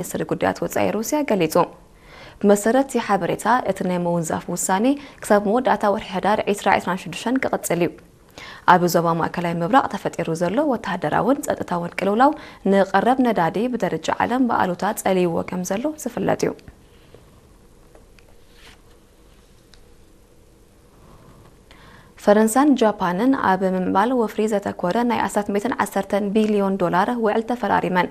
ሚኒስትሪ ጉዳያት ወጻኢ ሩስያ ገሊጹ። ብመሰረት እቲ ሓበሬታ፣ እቲ ናይ ምውንዛፍ ውሳኔ ክሳብ መወዳእታ ወርሒ ሕዳር ዕስራ ዕስራን ሽዱሽተን ክቕጽል እዩ። ኣብ ዞባ ማእከላይ ምብራቕ ተፈጢሩ ዘሎ ወተሃደራውን ጸጥታውን ቅልውላው ንቐረብ ነዳዲ ብደረጃ ዓለም ብኣሉታ ጸልይዎ ከም ዘሎ ዝፍለጥ እዩ። ፈረንሳን ጃፓንን ኣብ ምምዕባል ወፍሪ ዘተኮረ ናይ ኣስታት ሚእትን ዓሰርተን ቢልዮን ዶላር ውዕል ተፈራሪመን።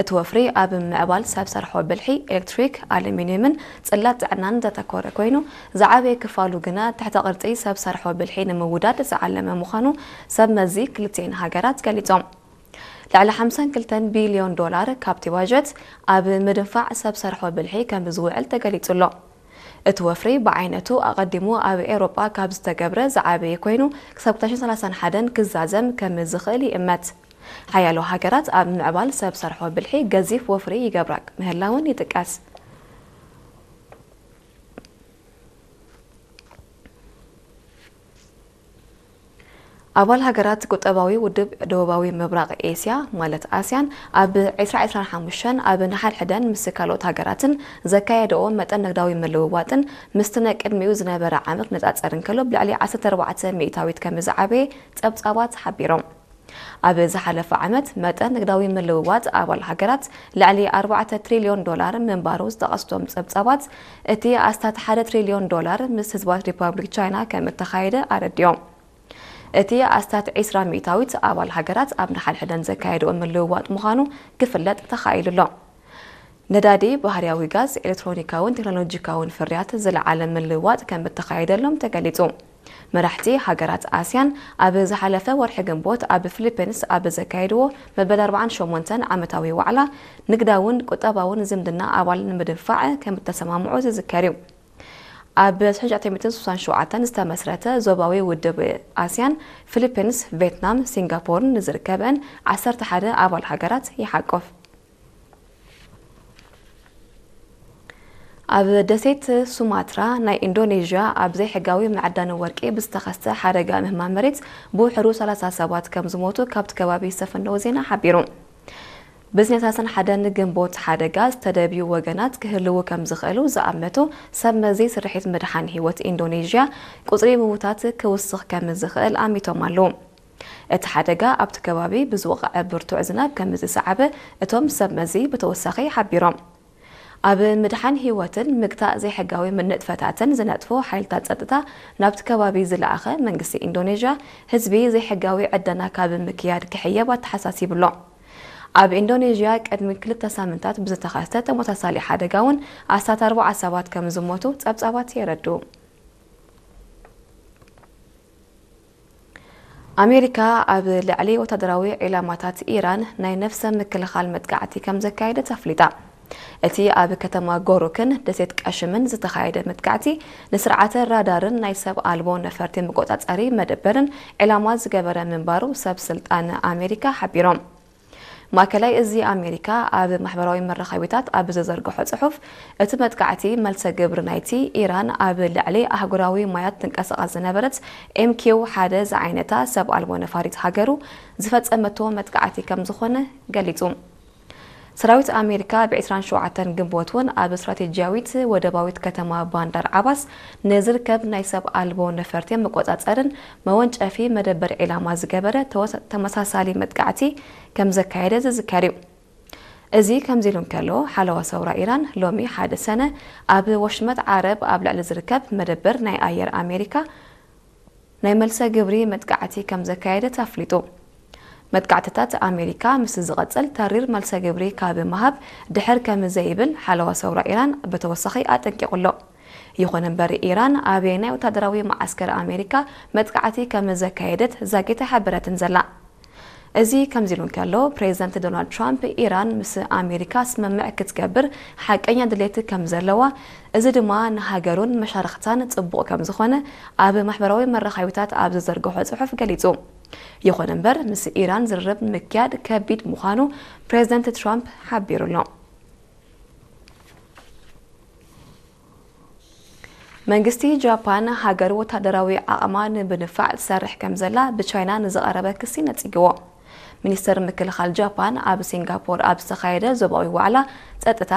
እቲ ወፍሪ ኣብ ምምዕባል ሰብ ሰርሖ ብልሒ፣ ኤሌክትሪክ፣ ኣሉሚንየምን ጽላት ጥዕናን ዘተኮረ ኮይኑ፣ ዝዓበየ ክፋሉ ግና ትሕተ ቅርጺ ሰብ ሰርሖ ብልሒ ንምውዳድ ዝዓለመ ምዃኑ ሰብ መዚ ክልቲኤን ሃገራት ገሊጾም። ልዕሊ ሓምሳን ክልተን ቢልዮን ዶላር ካብቲ ባጀት ኣብ ምድንፋዕ ሰብ ሰርሖ ብልሒ ከም ዝውዕል ተገሊጹ ኣሎ። እቲ ወፍሪ ብዓይነቱ ኣቐዲሙ ኣብ ኤውሮጳ ካብ ዝተገብረ ዝዓበየ ኮይኑ፣ ክሳብ ክልተ ሽሕን ሰላሳን ሓደን ክዛዘም ከም ዝኽእል ይእመት። ሓያሎ ሃገራት ኣብ ምዕባል ሰብ ሰርሖ ብልሒ ገዚፍ ወፍሪ ይገብራ ምህላውን ይጥቀስ። ኣባል ሃገራት ቁጠባዊ ውድብ ደቡባዊ ምብራቕ ኤስያ፣ ማለት ኣስያን፣ ኣብ ዕስራ ዕስራን ሓሙሽተን ኣብ ንሓድሕደን ምስ ካልኦት ሃገራትን ዘካየደኦ መጠን ንግዳዊ ምልውዋጥን ምስቲ ናይ ቅድሚኡ ዝነበረ ዓመት ክነጻጸር እንከሎ፣ ብልዕሊ ዓሰርተ ኣርባዕተ ሚእታዊት ከም ዝዓበየ ጸብጻባት ሓቢሮም። ኣብ ዝሓለፈ ዓመት፣ መጠን ንግዳዊ ምልውዋጥ ኣባል ሃገራት ልዕሊ ኣርባዕተ ትሪልዮን ዶላር ምንባሩ ዝጠቐሱ እቶም ጸብጻባት፣ እቲ ኣስታት ሓደ ትሪልዮን ዶላር ምስ ህዝባዊት ሪፓብሊክ ቻይና ከም እተኻየደ ኣረዲኦም። እቲ ኣስታት ዕስራ ሚእታዊት ኣባል ሃገራት ኣብ ንሓድሕደን ዘካየድኦ ምልውዋጥ ምዃኑ ክፍለጥ ተኻኢሉ ኣሎ። ነዳዲ፣ ባህርያዊ ጋዝ፣ ኤሌክትሮኒካውን ቴክኖሎጂካውን ፍርያት ዝለዓለ ምልውዋጥ ከም እተኻየደሎም ተገሊጹ። መራሕቲ ሃገራት ኣስያን ኣብ ዝሓለፈ ወርሒ ግንቦት ኣብ ፊሊፒንስ ኣብ ዘካየድዎ መበል ኣርባዓን ሸሞንተን ዓመታዊ ዋዕላ፣ ንግዳውን ቁጠባውን ዝምድና ኣባል ንምድንፋዕ ከም እተሰማምዑ ዝዝከር እዩ። ኣብ ሽሕን ትሽዓተ ሚእትን ስሳን ሸውዓተን ዝተመስረተ ዞባዊ ውድብ ኣስያን፣ ፊሊፒንስ፣ ቬትናም፣ ሲንጋፖርን ንዝርከበን ዓሰርተ ሓደ ኣባል ሃገራት ይሓቁፍ። ኣብ ደሴት ሱማትራ ናይ ኢንዶኔዥያ ኣብ ዘይሕጋዊ መዕዳኒ ወርቂ ብዝተኸስተ ሓደጋ ምህማም መሬት ብውሕዱ ሰላሳ ሰባት ከም ዝሞቱ ካብቲ ከባቢ ዝተፈነወ ዜና ሓቢሩ። ብዝነታሰን ሓደን ግንቦት ሓደጋ ዝተደብዩ ወገናት ክህልዉ ከም ዝኽእሉ ዝኣመቱ ሰብ መዚ ስርሒት ምድሓን ህይወት ኢንዶኔዥያ፣ ቁጽሪ ምዉታት ክውስኽ ከም ዝኽእል ኣሚቶም ኣለዉ። እቲ ሓደጋ ኣብቲ ከባቢ ብዝወቕዐ ብርቱዕ ዝናብ ከም ዝሰዓበ እቶም ሰብ መዚ ብተወሳኺ ሓቢሮም። ኣብ ምድሓን ህይወትን ምግታእ ዘይሕጋዊ ንጥፈታትን ዝነጥፉ ሓይልታት ጸጥታ ናብቲ ከባቢ ዝለኣኸ መንግስቲ ኢንዶኔዥያ፣ ህዝቢ ዘይሕጋዊ ዕደና ካብ ምክያድ ክሕየብ ኣተሓሳሲቡ ኣሎ። ኣብ ኢንዶኔዥያ ቅድሚ ክልተ ሳምንታት ብዝተኸስተ ተመሳሳሊ ሓደጋ እውን ኣስታት ኣርባዓ ሰባት ከም ዝሞቱ ጸብጻባት የረድኡ። ኣሜሪካ ኣብ ልዕሊ ወታደራዊ ዒላማታት ኢራን ናይ ነፍሰ ምክልኻል መጥቃዕቲ ከም ዘካየደት ኣፍሊጣ። እቲ ኣብ ከተማ ጎሩክን ደሴት ቀሽምን ዝተኻየደ መጥቃዕቲ፣ ንስርዓተ ራዳርን ናይ ሰብ ኣልቦ ነፈርቲ መቆጻጸሪ መደበርን ዒላማ ዝገበረ ምንባሩ ሰብ ስልጣን ኣሜሪካ ሓቢሮም። ማእከላይ እዚ ኣሜሪካ ኣብ ማሕበራዊ መራኸቢታት ኣብ ዝዘርግሖ ጽሑፍ፣ እቲ መጥቃዕቲ መልሰ ግብሪ ናይቲ ኢራን ኣብ ልዕሊ ኣህጉራዊ ማያት ትንቀሳቐስ ዝነበረት ኤም ኪው ሓደ ዝዓይነታ ሰብ ኣልቦ ነፋሪት ሃገሩ ዝፈጸመቶ መጥቃዕቲ ከም ዝኾነ ገሊጹ። ሰራዊት ኣሜሪካ ብ ዕስራን ሸውዓተን ግንቦት እውን ኣብ ስትራቴጂያዊት ወደባዊት ከተማ ባንዳር ዓባስ ንዝርከብ ናይ ሰብ ኣልቦ ነፈርቲ መቆጻጸርን መወንጨፊ መደበር ዒላማ ዝገበረ ተወሰ-፣ ተመሳሳሊ መጥቃዕቲ ከም ዘካየደ ዝዝከር እዩ። እዚ ከምዚ ኢሉ እንከሎ፣ ሓለዋ ሰውራ ኢራን ሎሚ ሓደ ሰነ ኣብ ወሽመጥ ዓረብ ኣብ ልዕሊ ዝርከብ መደበር ናይ ኣየር ኣሜሪካ ናይ መልሰ ግብሪ መጥቃዕቲ ከም ዘካየደት ኣፍሊጡ። መጥቃዕትታት ኣሜሪካ ምስ ዝቐጽል፣ ተሪር መልሰ ግብሪ ካብ ምሃብ ድሕር ከም ዘይብል ሓለዋ ሰውራ ኢራን ብተወሳኺ ኣጠንቂቑ ኣሎ። ይኹን እምበር፣ ኢራን ኣበየናይ ወታደራዊ መዓስከር ኣሜሪካ መጥቃዕቲ ከም ዘካየደት ዛጊት ኣይሓበረትን ዘላ። እዚ ከምዚ ኢሉ እንከሎ፣ ፕሬዚደንት ዶናልድ ትራምፕ፣ ኢራን ምስ ኣሜሪካ ስምምዕ ክትገብር ሓቀኛ ድሌት ከም ዘለዋ፣ እዚ ድማ ንሃገሩን መሻርኽታን ጽቡቕ ከም ዝኾነ ኣብ ማሕበራዊ መራኸቢታት ኣብ ዝዘርግሖ ጽሑፍ ገሊጹ። ይኹን እምበር፣ ምስ ኢራን ዝርርብ ምክያድ ከቢድ ምዃኑ ፕሬዚደንት ትራምፕ ሓቢሩ ኣሎ። መንግስቲ ጃፓን፣ ሃገሩ ወታደራዊ ዓቕማ ንምድንፋዕ ትሰርሕ ከም ዘላ ብቻይና ንዝቐረበ ክሲ ነጺግዎ። ሚኒስተር ምክልኻል ጃፓን ኣብ ሲንጋፖር ኣብ ዝተኻየደ ዞባዊ ዋዕላ ጸጥታ